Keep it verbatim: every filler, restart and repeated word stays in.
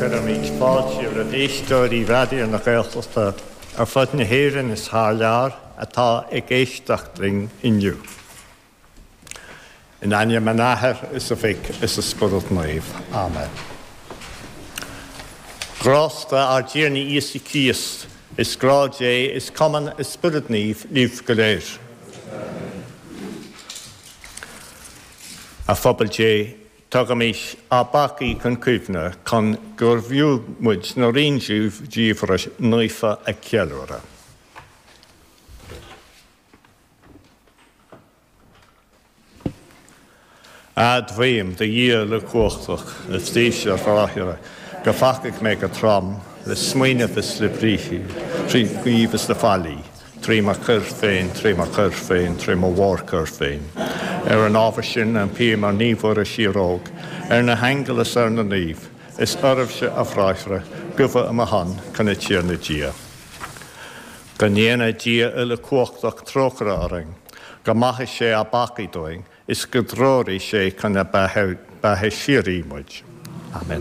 Cuirimid fáilte roimh éisteoirí Raidió na Gaeltachta ar fud na hÉireann is thar lear atá ag éisteacht linn inniu. In ainm an Athar is an Mhic is an Spioraid Naoimh. Amen. Grásta ár dTiarna Íosa Críost, is grá Dé is cumann an Spioraid Naoimh libh go léir. A phobal Dé, Tugaimis ár bpeacaí chun cuimhne chun gurbh fhiú muid na ríghníomhartha naofa a cheiliúradh. Admhaím do Dhia uilechumhachtach is daoibhse a bhráithre, gur pheacaigh mé go trom, le smaoineamh is le briathar, trí ghníomh is le faillí, trí mo choir féin, trí mo choir féin, trí mo mhórchoir féin. Ar an ábhar sin, impím ar Naomh Muire Síoróg, ar na haingil is ar na naoimh, is oraibhse, a bhráithre, gabhadh i mo shon chun an Tiarna Dia. Go ndéana Dia uilechumhachtach trócaire orainn, go maithe sé ár bpeacaí dúinn, is go dtreoraí sé chun na beatha síoraí muid. Amen.